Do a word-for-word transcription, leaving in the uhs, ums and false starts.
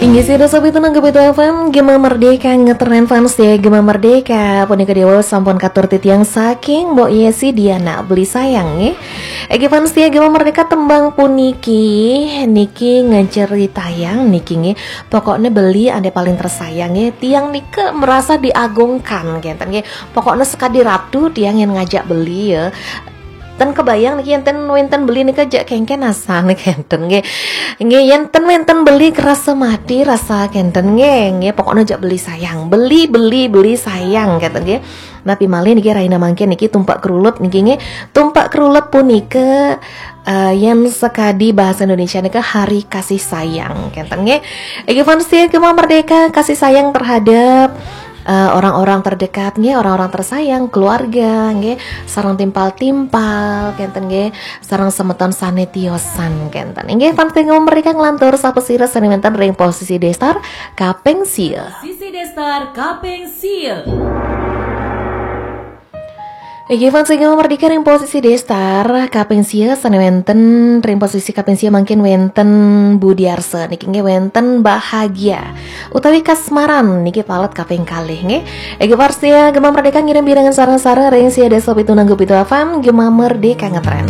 Inggih sida sobat Tunang Gebitu F M, Gema Merdeka ngetren fans ya, Gema Merdeka. Punika dewa sampun katur titiang saking Mbok Yesi Diana beli sayang nggih. Egi fans ya Gema Merdeka, tembang puniki niki ngejeritayang niki nggih. Pokoknya beli ade paling tersayang nggih. Tiang nika merasa diagungkan kenten nggih. Pokoknya sekadi ratu tiang yang ngajak beli ya. Ten kebayang niki enten wenten beli nika jak kengken asan kenten nggih. Nggih, yen ten wenten beli kerasa mati rasa kenten nggih. Nggih, pokoknya jak beli sayang. Beli, beli, beli sayang kenten nggih. Napi malih niki raina mangkin niki tumpak kerulut niki nggih. Tumpak kerulut punika eh, yen sekadi bahasa Indonesia nika hari kasih sayang kenten nggih. Egi fans ya Gema Merdeka, kasih sayang terhadap eh, orang-orang terdekat nggih, orang-orang tersayang, keluarga nggih, sareng timpal-timpal kenten nggih, sareng semeton sane tiosan kenten. Inggih fans Gema Merdeka, nglantur sapa sira sane wenten ring posisi destar kaping sia. Sisi destar kaping sia. Inggih fans Gema Merdeka, ring posisi destar kaping sia sane wenten ring posisi kaping sia mangkin wenten Budiarsa niki nggih, wenten Bahagia utawi Kasmaran niki palet kaping kalih nggih. Inggih fans Gema Merdeka, ngirim pirengan sareng-sareng ring sia desa pitu nanggu pitu F M, Gema Merdeka ngetren.